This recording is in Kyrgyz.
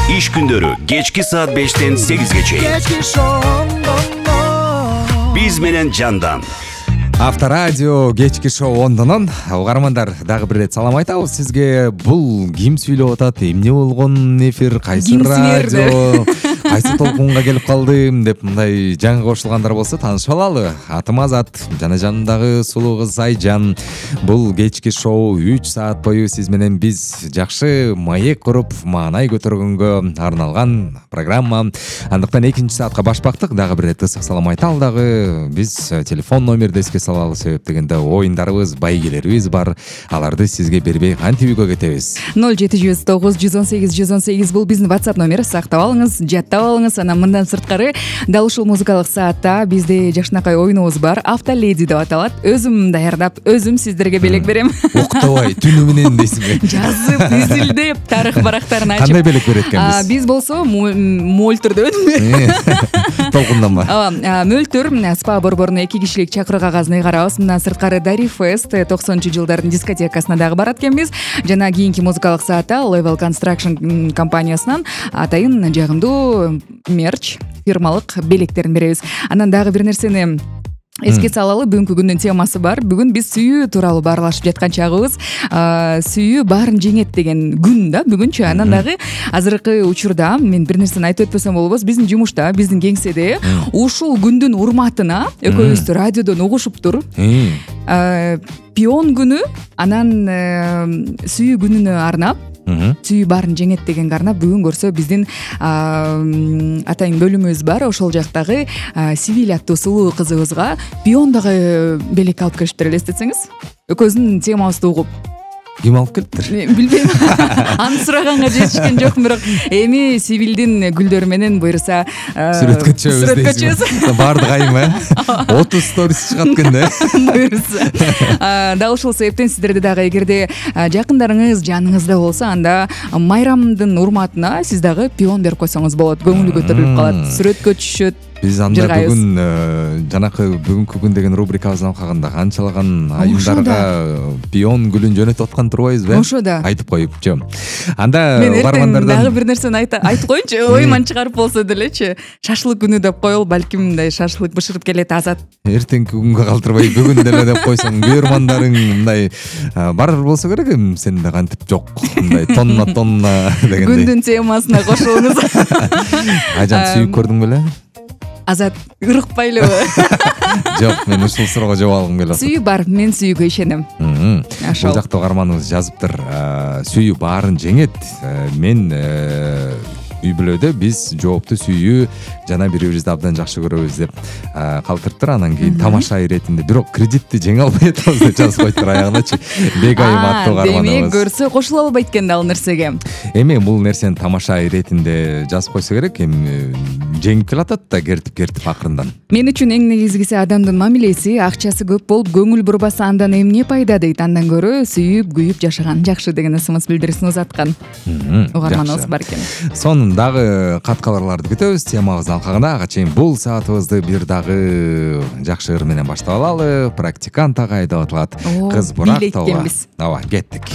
Иш күндөрү кечки саат 5-тен 8-ге чейин. Биз менен жандан. Авторадио кечки шоу ондонон угармандар дагы бир ирет салам айтабыз сизге. Бул ким сүйлөп атат, эмне болгон эфир, кайсы радио, кайсы толкунга келип калдым деп мындай жаңы кошулгандар болсо таанышып алалы. Атым Азат, жана жанымдагы сулуу кыз Айжан. Бул кечки шоу 3 саат бою сиз менен биз жакшы маек куруп, маанай көтөргөнгө арналган программа. Андыктан 2 саатка башпактык. Дагы бир ирет ысык салам айталы дагы. Биз телефон номерди эске салалы, себеп дегенде оюндарыбыз, байгелерибиз бар. Аларды сизге бербей кантип үйгө кетебиз? 0709 118 118 бул биздин WhatsApp номер. Сактап алыңыз, жаттап алыңыз. Анан мындан сырткары дал ушул музыкалык саатта бизде жакшынакай оюнубуз бар. Автоледи деп аталат. Өзүм даярдап, өзүм сиздерге белек берем. Уктабай, түнү менен дейсиңби? Жазып, изилдеп, тарых барактарын ачып. Кандай белек берет экенбиз? Биз болсо мөлтүр дебедимби? Толкунданма. Мөлтүр спа борборуна 2 кишилик чакыруу кагазын ыйгарабыз. Мындан сырткары Дари Фест 90-жылдардын дискотекасына дагы барат экенбиз. Жана кийинки музыкалык саатта Level Construction компаниясынан атайын жагымдуу мерч, фирмалык белектерин беребиз. Анан дагы бир нерсени эске салалы, бүгүнкү күндүн темасы бар. Бүгүн биз сүйүү тууралуу баарлашып жаткан чагыбыз. Сүйүү баарын жеңет деген күн да бүгүнчү. Анан дагы азыркы учурда мен бир нерсени айтып өтпөсөм болбос. Биздин жумушта, биздин кеңседе ушул күндүн урматына экөөбүз радиодон угушуптур. Пион күнү, анан сүйүү күнүнө арнап, сүйүү баарын жеңет дегенге арнап бүгүн көрсө биздин атайын бөлүмүбүз бар. Ошол жактагы Сивиль аттуу сулуу кызыбызга пион дагы белек алып келиптир, элестетсеңиз. Экөөбүздүн темабызды угуп. Ким алып келиптир? Билбейм. Аны сураганга жетишкен жокмун, бирок эми Сивилдин гүлдөрү менен буюрса сүрөткө чыгабыз. Баардык айым 30 сторис чыгат экен буюрса. Дал ушул себептен сиздерде дагы эгерде жакындарыңыз жаныңызда болсо, анда майрамдын урматына сиз дагы пион берип койсоңуз болот. Көңүлү көтөрүлүп калат, сүрөткө түшөт. Биз анда бүгүн жанакы бүгүнкү күн деген рубрикабыздан алганда канчалаган айымдарга пион гүлүн жөнөтүп аткан турбайбызбы? Ошо да. Айтып коюпчу. Анда бармандардан дагы бир нерсени айтып коеюнчу, оюман чыгарып болсо делечи. Шашлык күнү деп коелу, балким мындай шашлык бышырып келет Азат. Эртеңки күнгө калтырбай бүгүн деле деп койсоң, күйөрмандарың мындай бар болсо керек. Сен да кантип жок, мындай тонна дегендей. Күндүн темасына кошулуңуз. Айжан, сүйүп көрдүң беле? Азат, ырыкпайлыбы? Жок, мен ушул суроого жооп алгым келип атат. Сүйүү бар, мен сүйүүгө ишенем. Бул жакта угарманыбыз жазыптыр. Сүйүү баарын жеңет. Мен үй бүлөдө биз жоопту сүйүү жана бири-бирибизди абдан жакшы көрөбүз деп калтырыптыр. Анан кийин тамаша иретинде бирок кредитти жеңе албай атабыз деп жазып коюптур аягыначы. Бегайым аттуу угарманыбыз. Демек көрсө кошула албайт экен да ал нерсеге. Эми бул нерсени тамаша иретинде жазып койсо керек. Эми жеңип келатат да кертип акырындан. Мен үчүн эң негизгиси адамдын мамилеси, акчасы көп болуп көңүл бурбаса андан эмне пайда дейт. Андан көрө сүйүп, күйүп жашаган жакшы деген ысымыз билдирисин узаткан угарманыбыз бар экен. Сонун дагы кат кабарларды күтөбүз. Темабызды алкаганда ага чейин бул саатыбызды бир дагы жакшы ыр менен баштап алалы. Практикант агай деп аталат. Кыз Бурактова. Ооба, кеттик.